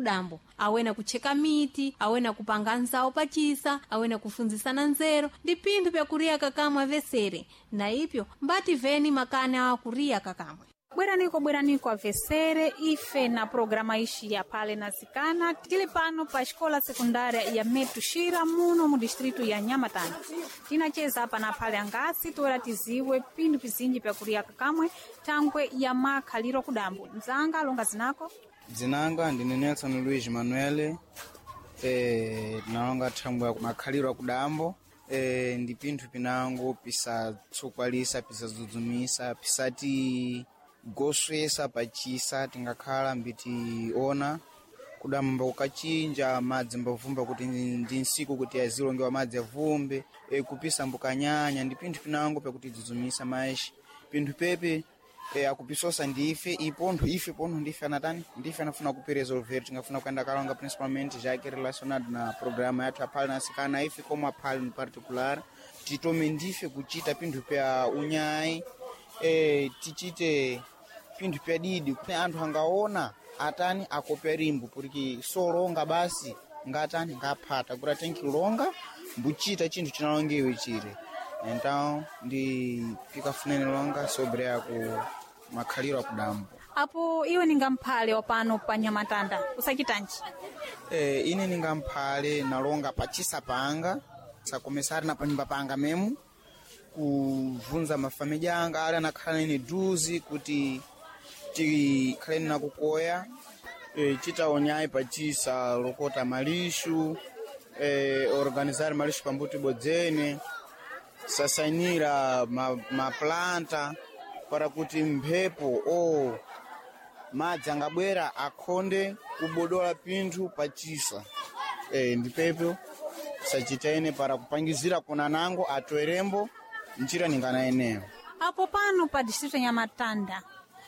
Kudambo awena kucheka miti, awena kupanga nzawo pachisa, awena kufunzisana nzeru ndi pinthu pyakuria kakamwe avesere. Na ipyo mbati veni makani awa kuriya kakamwe. Bweraniko bweraniko avesere ife na programa ishi ya pale na zikana tili pano pa xikola sekundária ya Metuxira muno mu distrito ya Nhamatanda. Tinacheza apa na pale angasi toera tiziwe pinthu pizinji pyakuria kakamwe thangwe ya makhaliro kudambo. Mzanga longa zinako. Dzinanga ndine Nelson Luiz Manuel, tinalonga thangwe ya makhaliro akudambo, ndi pinthu pinango pisatsokwalisa, pisadzudzumisa, pisati goswesa pachisa. Tingakhala mbitiona kudamba kukachinja madzi mbavumba kuti ndi nsiku kuti azilongewa madzi avumbe, kupisa mbukanyanya ndi pinthu pinango pyakuti dzudzumisa maexi pinthu pepe, akupisosa ndife ipontho ife pontho ndife anatani ndife anafuna kuperesolver. Tingafuna kuyenda kalonga principalmente jake relacionado na programa yathu aphale na asikana, ife como aphale in particular titome ndife kuchita pinthu pya unyayi, tichite pinthu pya didi kuti anthu angaona atani akopya rimbo porque solonga basi ngatani ngaphata kuti atenkilonga mbuchita chinthu chinalongewe chire. Então ndi pikafunene longa sobre aku makhaliro akudambo. Apo iwe ninga mphale wa pano pa Nhamatanda usachitanji? Ine ninga mphale nalonga pachisa panga sakomesari na panyumba panga memu kuvunza mafamiliya anga ali anakhala nene duzi kuti tikhaleni nakukoya, chitaonyayi pachisa lokota malixu, organizar malixu pambuti bodzene sasanira maplanta para kuti mphepo o madzi angabwera akhonde kubodola pinthu pachisa, ndipepo sachitaene para kupangizira kuna nango atoerembo njira ningana eneyo. Apo pano pa distrito ya Nhamatanda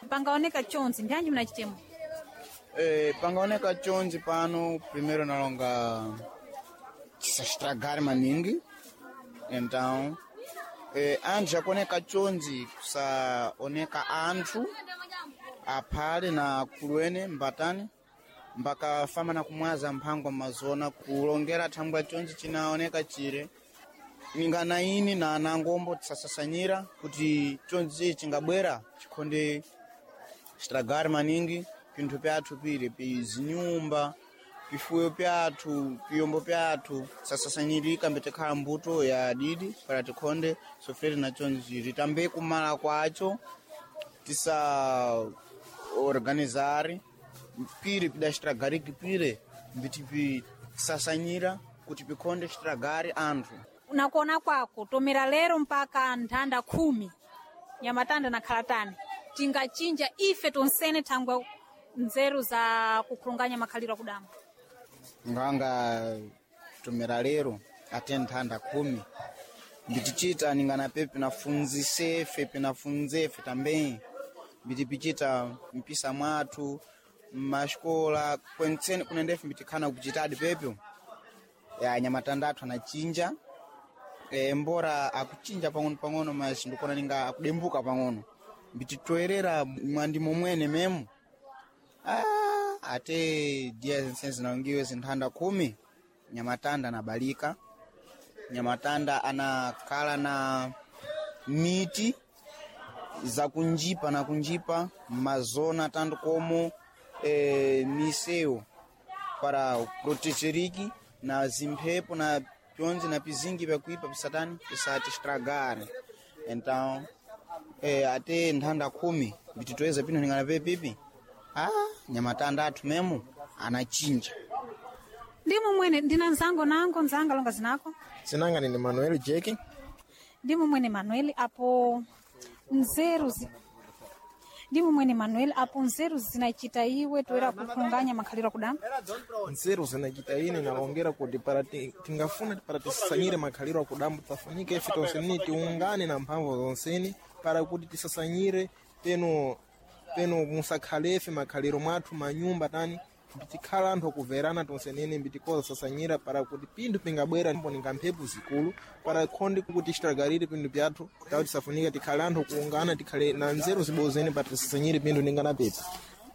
pangaoneka chonzi ndianji munachitemo? Pangaoneka chonzi pano primeiro nalonga chisaxitragari maningi. Então, anthu akuoneka chonzi kusaoneka anthu aphale na akuluene mbatani mbakafamba na kumwaza mphango mazona kulongera thangwe chonzi chinaoneka chire ningana ini na anangombo tisasasanyira kuti chonzi chingabwera chikhonde chitragari maningi pinthu pyathu pire pizinyumba, pifuyo pyathu, piyombo pyathu sasasanyirika mbetikhala mbuto ya didi para tikhonde sofere na chonzi ritambe kumala kwacho tisa organizari pire pidaxitragariki pire mbiti pisasanyira kuti pikhonde xitragari anthu. Nakuona kwako tomera lero mpaka nthanda 10 Nhamatanda nakhala tani tingachinja ife tonsene thangwe nzeru za kukhulunganya makhaliro akudambo? Nganga tomera lero ate nthanda 10 mbitichita ningana pe pinafunzisefe pinafunzefe também mbitipichita mpisa mwathu mmaxikola kwentsene kunendefe mbitikhana kuchitadi pepyo ya Nhamatanda athu anachinja, mbora akuchinja pang'ono pang'ono mas ndikuona ninga akudembuka pang'ono mbititoerera mwandi momwene memo, ate dia zense zinalongiwe zinthanda 10 Nhamatanda anabalika. Nhamatanda anakhala na miti zakunjipa na kunjipa mazona tanto como, misewu para protegeriki na zimphepo na pyonzi na pizingi pyakuipa pisatani pisati estragare. Então, ate nthanda 10 mbititoeza pino ningana pepipi, Nhamatanda athu memo anachinja. Ndimo mwene ndina nzango nango nzanga longa zinako. Zinanga nine Manuel Jeki. Ndimo mwene Manuel apo nzeru ndimo mwene Manuel apo nzeru zinachita iwe toera kukhulunganya makhaliro akudambo? Nzeru zinachita ine nalongera kuti para tingafuna para tisasanyire makhaliro akudambo tafunika ife tonseni tiungane na mphamvu zonseni para kuti tisasanyire peno peno musakhalefe makhaliro mwathu manyumba tani mbitikhala anthu akuverana tonsenene mbitikoza sasanyira para kuti pinthu pingabwera mbo ninga mphepo zikulu para khonde kuti xitagalire pinthu pyathu tawo tisafunika tikhale anthu kuungana tikhale na nzeru zibozene para tisasanyire pinthu ninga na pepa.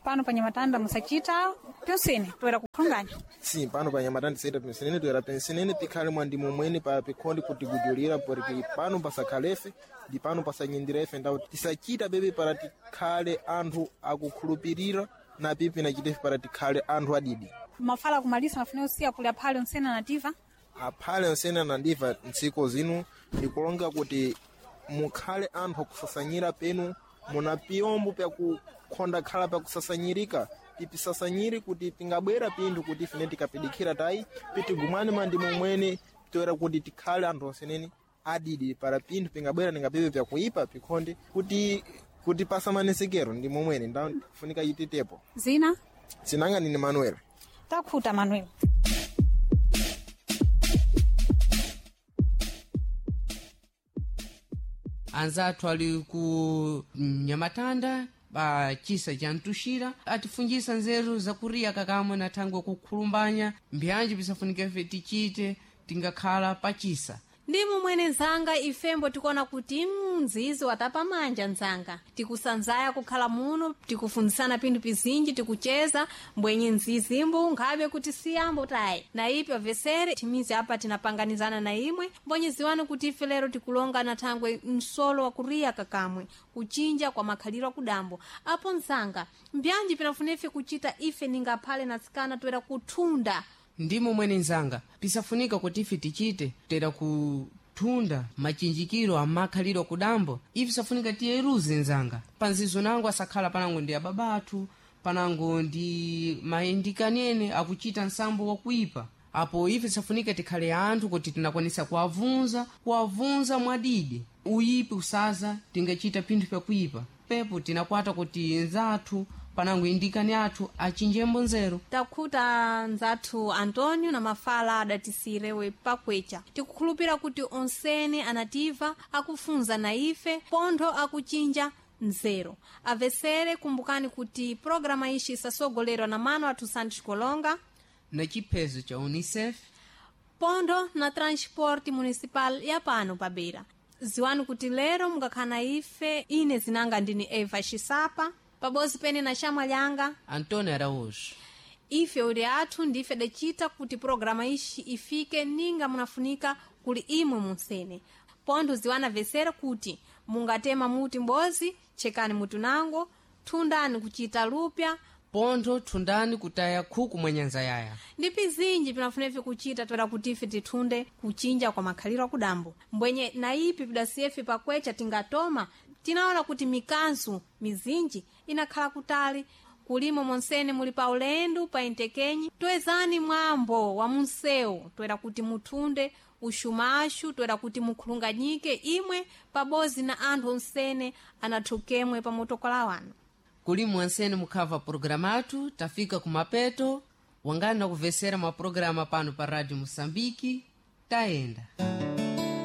Pano pa Nyamatanda musachita pyonsene toera kukhulunganya. Sim, pano pa Nyamatanda tisaita pensenene, toera pensenene tikhale mwandimo mwene pa pikhondi kutigujulira porque pano pasakhalefe ndi pano pasanyindira ife ndawo tisachita bebe para tikhale anthu akukhulupirira na pipi nachitefe para tikhale anthu adidi. Mafala kumalisa mafuna usiya kuli aphale onsene anativa. Aphale onsene anandiva ntsiko zinu ndikulonga kuti mukhale anthu akusasanyira penu muna piyombo pyakukhonda khala pyakusasanyirika tipisasanyire kuti tingabwera pinthu kuti ifene tikapidikira tayi pitigumane mandimo mwene toera kuti tikhale anthu onseneni adidi para pinthu pingabwera ningapipe pyakuipa pikhonde kuti pasamanesekero ndi momwene ndawo funika ititepo. Zina? Sinanga nini Manuel. Takhuta Manuel. Anzathu ali ku Nyamatanda pa chisa cha Mtuxira atifunjisa nzeru zakuriya kakamwe na thangwe kukhulumbanya mbyanji pisafunike ife tichite tingakhala pachisa. Ndi mumwene nzanga ifembo tikuona kuti mzizi watapa manja nzanga tikusanzaya kukhala muno tikufunzisana pinthu pizinji tikucheza mbwenye mzizimbu nkhabe kuti siyambo tayi na ipi avesere timizi apa tinapanganizana na imwe mbonye ziwani kuti ife lero tikulonga na thangwe msolo wa kuriya kakamwe kuchinja kwa makhaliro akudambo apo nzanga mbyanji pinafuna ife kuchita ife ningaphale natsikana toera kuthunda. Ndimo mwene nzanga pisafunika kuti ife tichite tera kuthunda machinjikiro amakhaliro kudambo ife safunika tiyeruze nzanga panzizo nango asakhala panango ndi ababa athu panango ndi maendikanene akuchita nsambo wakuipa apo ife safunika tikhale anthu kuti tinakwanisa kuwavunza mwadidi uyipi usaza tingachita pinthu pyakuipa pepo tinakwata kuti nzathu panango indikani athu achinjembo nzeru. Takhuta nzathu Antonio na mafala adatisirewe pakwecha tikukhulupira kuti onsene anativa akufunza na ife pontho akuchinja nzeru avesere. Kumbukani kuti programa ishi isasogolerwa na mano athu Santos Kolonga na chiphezo cha UNICEF pontho na transporte municipal ya pano pabera. Ziwani kuti lero mungakhala ife ine zinanga ndini Eva Xisapa pabozi pene na xamwa lyanga Antônio Araújo. Ife uli athu ndife dacita kuti programa ixi ifike ninga munafunika kuli imwe munsene pontho ziwana vesera kuti mungatema muti m'bozi chekani mutu nango thundani kuchita lupya pontho thundani kutaya khuku mwa nyanza yaya. Ndi pizinji pinafunefe kuchita toera kuti ife tithunde kuchinja kwa makhaliro akudambo mbwenye na ipi pidasiyefe pakwecha tingatoma tinaona kuti mikanzu mizinji inakhala kutali kulimo monsene muli pa ulendo pa entekenyi toezani mwambo wa munsewu toera kuti muthunde uxumaxu toera kuti mukhulunganyike imwe pabozi na anthu onsene anathukemwe pa motokola wanu. Kulimu ansene mukhava programa athu tafika kumapeto wangani na kuvesera mapulogalamu pano pa Radio Moçambique. Tayenda.